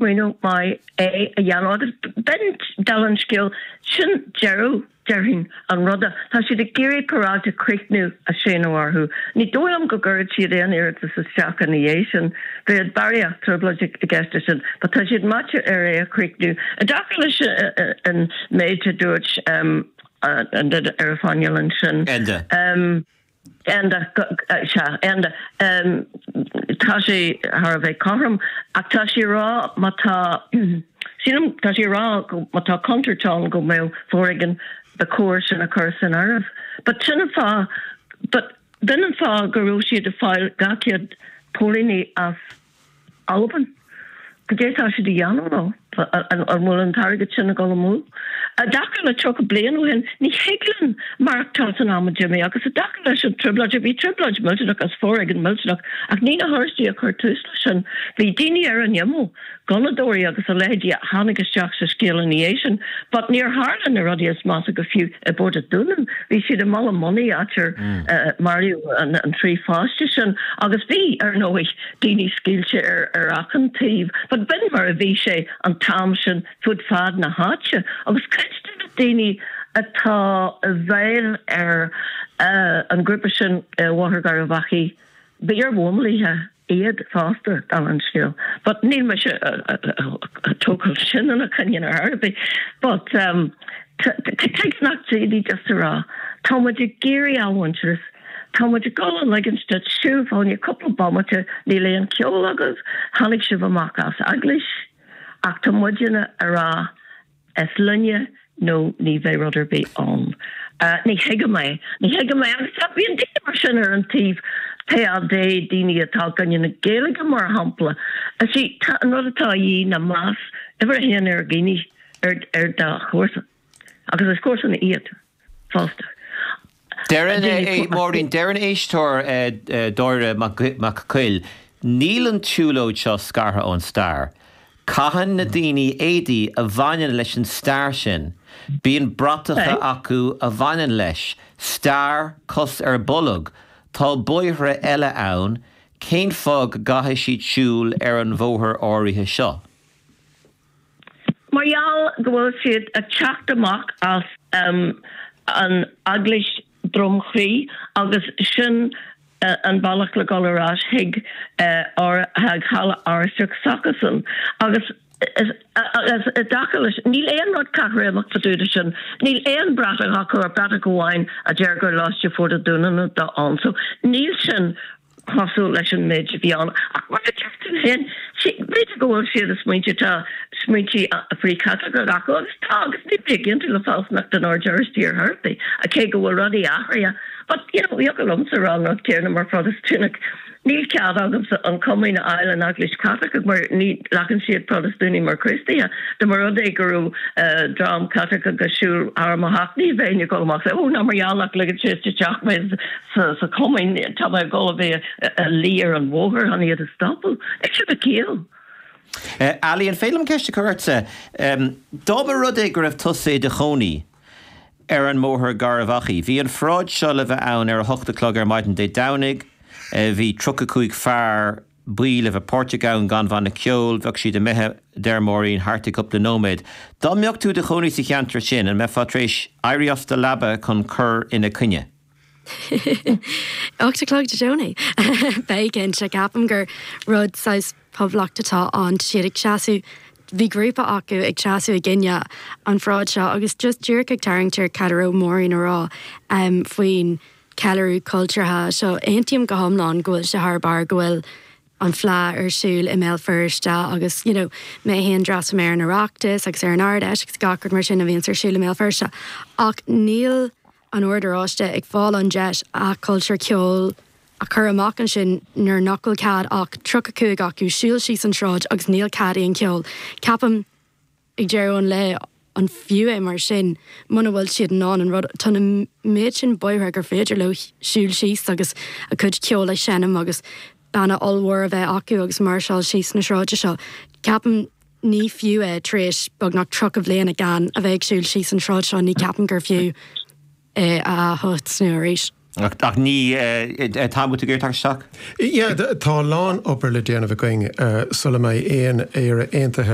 Smaoineamh maith é a dhéanamh agus b'in, dála an scéil, sin deireadh, déarfainn, an ruda. Tá siad ag iarraidh paráid a chríochnú a séanadh orthu. Ní dóigh liom go gcuirfidh siad aon iarratas isteach ina dhiaidh sin. Bheadh barraíocht trioblóide i gceist leis sin. But tá siad meáite ar é a chríochnú. I dtaca leis an méid a dúirt an duine ar an phainéal ansin. Enda. Enda, sea, Enda. Tá sé thar a bheith cothrom, ach tá sé ag rá má tá, sílim, tá sé ag rá go má tá contúirt ann go mbeadh foréigean, ba chóir sin a chur san áireamh. But sin an fáth, but b'in an fáth go raibh siad ag fáil 200 póilíní as Albain. Goidé tá siad a dhéanamh leo? An bhfuil an t-airgead sin ag dul amú? I dtaca le 30 bliain ó shin, ní thig linn maireachtáil san am a d'imigh agus i dtaca leis an trioblóid, bhí trioblóid millteanach agus foréigean millteanach ach ní na hOráistigh a chuir tús leis sin. Bhí daoine ar an imeall. gunnadóirí agus a leithéidí a tháinig isteach sa scéal ina dhiaidh sin. But níor tharla na rudaí is measa go fiú i bPort a' Dúnáin. Bhí siad i mBaile Monaidh, áit ar maraíodh an 3 pháiste sin. Agus bhí, ar ndóigh, daoine scaoilte ar achan taobh. But b'in mar a bhí sé an t-am sin fud fad na háite. Agus cuid de na daoine atá i bhfeighil ar an ghrúpa sin i Bhóthar Gharbh Achaidh, b'iar-bhuamálaithe iad fosta, dála an scéil. But níl mise ag tógáil sin ina choinne ar chor ar bith. But tuige nach d'fhéadfaí just a rá, tá muid ag iarraidh athmhuintearas, tá muid ag dul a ligint duit siúl fá choinne cúpla bomaite, níl aon cheol agaibh, tháinig sibh amach as eaglais, ach tá muidne a rá, Is linne nó ní bheidh rud ar bith ann. Ní thuigim é. Ní thuigim é. Agus tá, bíonn daoine mar sin ar an taobh PAD, daoine atá i gcoinne na Gaeilge mar shampla. See, tá an rud atá a dhíth ná meas uimhir a haon ar dhaoine, ar, ar do chomharsa. Agus is comharsana iad fosta. Deireann, Máirín, deireann éisteoir Dáire Mac Coill, níl an tsiúlóid seo scartha ón stair. Caitheann na daoine éadaí a bhaineann leis an stair sin. Bíonn bratacha acu a bhaineann leis. Stair, cos ar bolg. Tá bóithre eile ann, cén fáth go gcaithfidh siad siúl ar an bhóthar áirithe seo? Mar gheall go bhfuil siad ag teacht amach as an Eaglais Dromchrí agus sin an bealach le dul ar ais chuig Halla Oráisteach s'acusan. Agus i dtaca leis, níl aon rud caithréimeach fá dtaobh de sin. Níl aon bhratach acu ach bratach amháin a deir gur Lóiste Phort a' Dúnáin atá ann. So níl sin cosúil leis an méid a bhí ann. Ach mar a deir tú féin, b'fhéidir go bhfuil siad ag smaointiú, tá smaointí frith-Chaitliceach acu, agus tá, agus níl mé ag aontú le fealsúnacht an Oird Oráistigh ar chor ar bith, cé go bhfuil rudaí athraithe. But, you know, thiocfadh liomsa a rá an rud céanna mar Phrotastúnach. Níl cead agamsa an Chomaoin a fháil in Eaglais Chaitliceach mar ní ghlacann siad Protastúnaigh mar Chríostaithe. Dá mba rud é go raibh dream Caitliceach ag siúl thar mo theach, ní bheinn ag dul amach is, oh, ná mar gheall nach ligeann siad isteach mé sa Chomaoin, tá mé ag dul a bheith ag luí ar an bhóthar chun iad a stopadh. Níl sé de chiall. Ali, an féidir liom ceist a chur ortsa? Dá mba rud é go raibh tusa i do chónaí ar an mBóthar Garbh Achaidh. Bhí an pharáid seo le bheith ann ar a hocht a chlog ar maidin Dé Domhnaigh. Bhí 35 fear buí le bheith páirteach ann gan bhanna ceoil. Bheadh siad imithe, deir Máirín, thart i gcúpla nóiméad. Dá mbeadh tú i do chónaí sa cheantar sin, an mbeifeá tar éis éirí as do leaba chun cur ina coinne? 8 a chlog Dé Domhnaigh. Beidh cinnte. Ceapaim gur rud saghas poblachta atá ann. Tá siad ag seasamh, bhí grúpa acu ag seasamh i gcoinne an pharáid seo agus just díreach ag tarraingt ar cad a raibh Máirín a rá faoin ceiliúradh cultúrtha seo. Aontaím go hiomlán go bhfuil sé thar barr go bhfuil an Fleadh ar siúl i mBéal Feirste agus you know mé féin d'fhreastail mé ar an Oireachtas agus ar an Ard-Fheis agus gach rud mar sin a bhíonns ar siúl i mBéal Feirste ach níl an Ord Oráiste ag fáil an deis a cultúr ceoil a chur amach ansin nuair nach bhfuil cead ach 35 acu siúl síos an tsráid agus níl cead aon cheol. Ceapaim ag deireadh an lae an fiú é mar sin muna bhfuil siad in ann an rud, tá na méid sin bóithre gur féidir leo siúl síos agus a gcuid ceoil a sheinm agus banna ollmhór a bheith acu agus máirseáil síos na sráide seo. Ceapaim ní fiú é tar éis beagnach 30 bhliana gan a bheith ag siúl síos an tsráid seo, ní ceapaim gur fiú é a ath-thosnú arís. Ach ní, Tom, bhfuil tú ag iarraidh teacht isteach? Yeah, tá a lán obair le déanamh againn sula mbeidh aon Éire aontaithe.